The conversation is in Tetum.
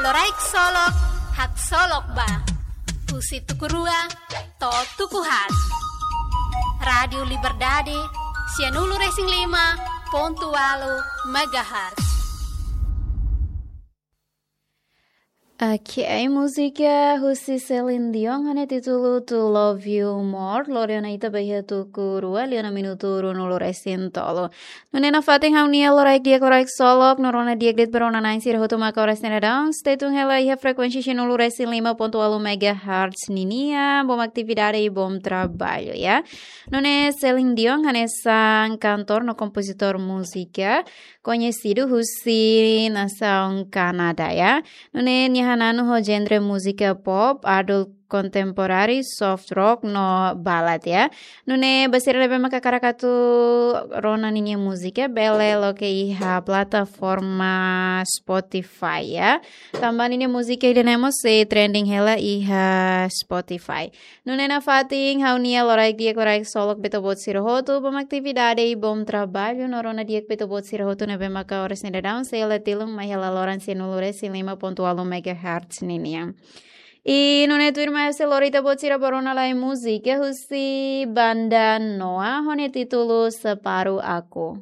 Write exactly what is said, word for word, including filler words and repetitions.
Loraik Solok, haksolok ba. Husi tuku rua to'o tuku haat. Rádiu Liberdade, sianulu-resin-lima pontu ualu megahertz. Oke, múzika husi Celine Dion ho nia títulu To Love You More, lori ona ita ba iha tuku rua, liu ona minutu ruanulu-resin-tolu. Nune'e nafatin ha'u-nia loraik di'ak, loraik solok, no rona di'ak de'it ba rona-na'in sira hotu maka oras ne'e daudaun. Stay tune hela iha frekuénsia sianulu-resin-lima pontu ualu megahertz ninian, bom atividade i bom trabalho, ya. Nune'e Celine Dion hanesan kantór no kompozitór múzika koñesidu husi nasaun Kanadá, ya. Nune'e nia hananu ho genre múzika pop, adult contemporary, soft rock no ballad, ya. Nune'e ba sira ne'ebé maka hakarak atu rona ninia múzika, bele loke iha plataforma Spotify, ya. Tanba ninia múzika ida-ne'e mós sei trending hela iha Spotify. Nune'e nafatin ha'u-nia loraik di'ak, loraik solok ba ita-boot sira hotu, bom atividade i bom trabalho, no rona di'ak ba ita-boot sira hotu ne'ebé maka oras ne'e daudaun sei la tilun mai hela loron sianulu-resin-lima pontu ualu megahertz ninian. I nune'e tuirmai ha'u sei lori ita-boot sira ba rona lai múzika husi Banda Noa ho nia títulu Separuh Aku.